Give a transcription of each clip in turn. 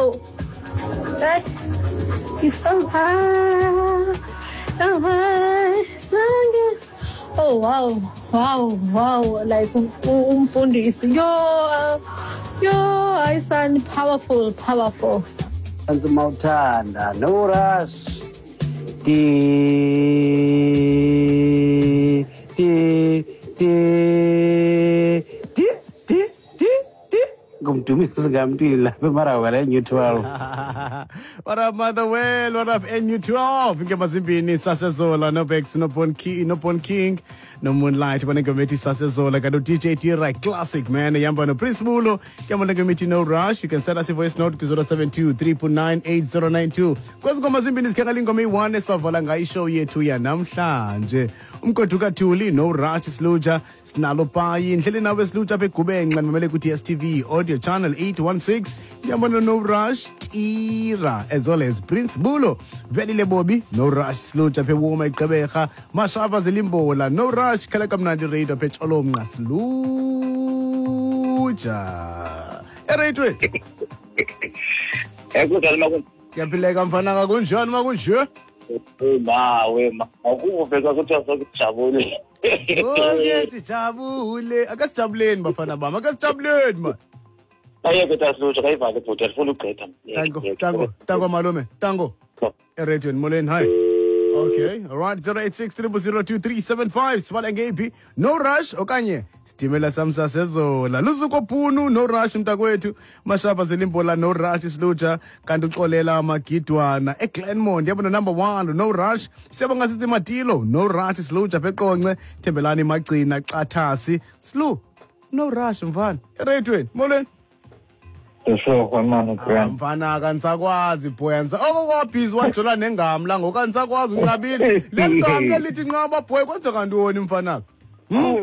Oh, that is so high. Oh wow, wow, wow! Like umfundisi, yo, yo, I sound powerful, powerful. Mawuthanda no rush T T T T T T T ngumdumisi ngamntwini lapha eMarawela NU12. What up, Motherwell? What up, NU12? Ingoma zimbini sasezola noBex noBon King noBon King noMoonlight banengoma ethi sasezola kanti uDJ Tira classic man ihamba noPrince Bulo ke banengoma ethi No Rush. You can send us a voice note ku-072 399 8092. Kwezi ngoma zimbini sikhangela ingoma eyi-1 esavala ngayo ishow yethu yanamhlanje. Umgodu kaThuli No Rush Siluja sinalo payi ndlele nawe Siluja apha eGubenxa ndimamele ku-DStv audio channel 816 ndiyabona No Rush Tira as well as Prince Bulo Velile Bobi No Rush Siluja apha eWoma eGqeberha Mashava Zilimbola No Rush khala kamnandi radio apha eTsholomnqa Siluja ereyitweni. Kunjani makunje? Ngiyaphileka mfana, kunjani makunje? Mawe ma akuveka kuthiwa sokujabule. Oke sijabule, akasijabuleni bafana bami, akasijabuleni man. Ayeke tasilutsha kayivale bhuti, andifuna ugqitha. Tango, tango, tango malume, tango. Ereyitweni, molweni, hi. Okay, all right, 086 0002375 sibale ngeyiphi? No Rush okanye Sitimela sam sasezola. Luzuko Phunu No Rush mntakwethu. Mashaba Zilimbola No Rush Siluja kanti uxolela amagidwana eGlenmont yabona number 1 No Rush. Siyabonga sithi Matilo No Rush Siluja Peqonce Thembelani Magcina Xathasi Silu No Rush mfana. Ereyitweni, molweni. Mfana akanisakwazi boy anisa oko kwabhizi wajola nengamla ngoku anisakwazi unqabile lengamla lithi nqaba boy kwenzeka ntoni mfana?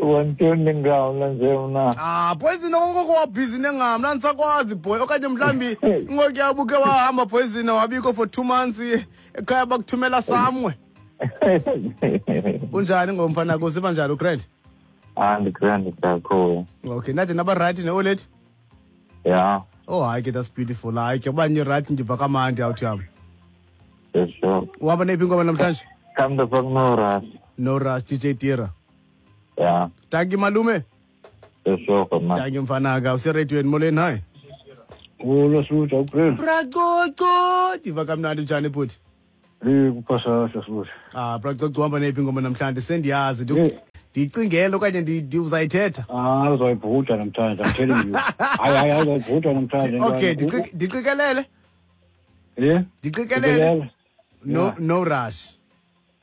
Wantoni nengamla nje mna? Ah poison oko kwabhizi nengamla anisakwazi boy okanye mhlambi ngokuya uke wahamba poison wabikho for 2 months ekhaya bakuthumela samwe. Unjani ngomfana kusiba njani ugrand? Ah ndigrand kakhulu. Okay nathi naba right ne-oledi? Yeah. Oh hayi ke that's beautiful. Hayi ke ubanye right ndiva kamandi awuthi yam. Yes sure. Uhamba neyiphi ingoma namhlanje? Come the fuck No Rush. No Rush DJ Tira. Yeah. Thank you malume. Yes sure man. Thank you mfanaka useradioweni molweni hi. Ulo Siluja ugrand. Bracoco ndiva kamnandi njani bhuti? Kuphasa Siluja. Ah Bracoco uhamba neyiphi ingoma namhlanje sendiyazi ndiyicingele okanye uzayithetha? Ah uzoyibhuda namhlanje, I'm telling you. Hayi hayi uzoyibhuda namhlanje. Okay, ndiqikelele. Yeah. Ndiqikelele. No no rush.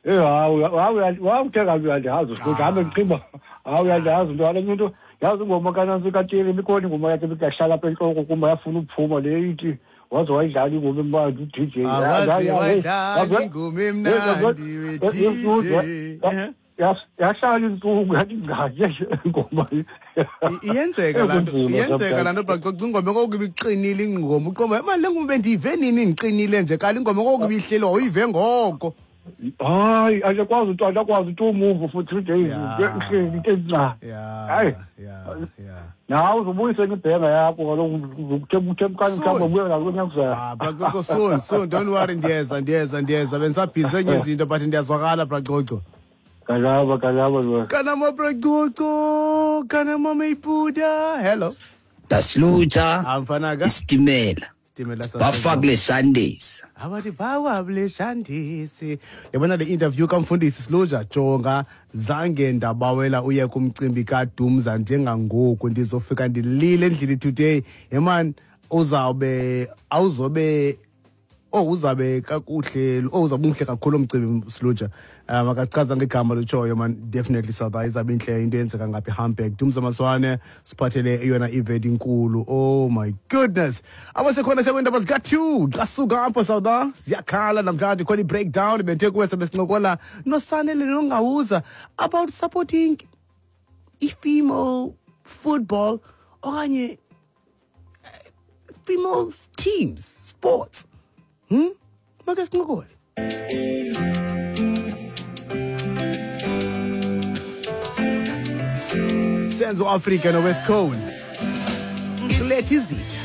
Eh hawu hawu uthenga uyandiyazi usiluja hambe ndiqimba. Hawu uyandiyazi ntwana into yazi ingoma kanansi kaTiri ibikhona ingoma yakhe ibiyahlala apha entloko kumba yafuna ukuphuma le ithi waze wayidlala ingoma emnandi uDJ. Waze ingoma emnandi we-DJ. Yahlala insuku yathi ngaye ingoma. Iyenzeka lanto, iyenzeka lanto Bracoco ingoma kokuba iqinile ingoma uqomba manje le ngoma bendiyive nini ndiqinile nje kanti ingoma kokuba ihleli awuyive ngoko. Hayi akakwazi umuntu akakwazi to move for 3 days ihleli into encane. Hayi. Yeah. Nawe uzobuyisa ngebhenga yakho kaloku uthemkani mhlawumbe ubuye nakunyaka kuzayo. Ah Bracoco soon don't worry ndiyeza bendisabhizi enye izinto but ndiyazwakala Bracoco. Kalaba kalaba. Kanama Bracoco, kanama Mayiputa. Hello. Dasluta. Amfanaga. Isitimela. Isitimela sase. Bafakule Sundays. Abathi bawable Sundays. Yabona le interview kamfundisi Siluja jonga zange ndabawela uye kumcimbi kaDumza njengangoku ndizofika ndilile endlini today. Hey uzawube awuzobe uzabe kakuhle uzabe umhle kakhulu umcimbi Siluja. Makachaza ngegama lutshoyo man definitely South izabe inhle into eyenzeka ngapha eHamburg. Dumza Maswane siphathele eyona event inkulu. Oh my goodness. Abasekhona sekwindaba zika-2 xa suka apho South siyakhala namhlanje khona i-breakdown benthe kuwe sebesincokola noSanele Nongawuza about supporting i-female football okanye female teams sports. Make sincokole. Senzo Africa no West Cone. Let is it.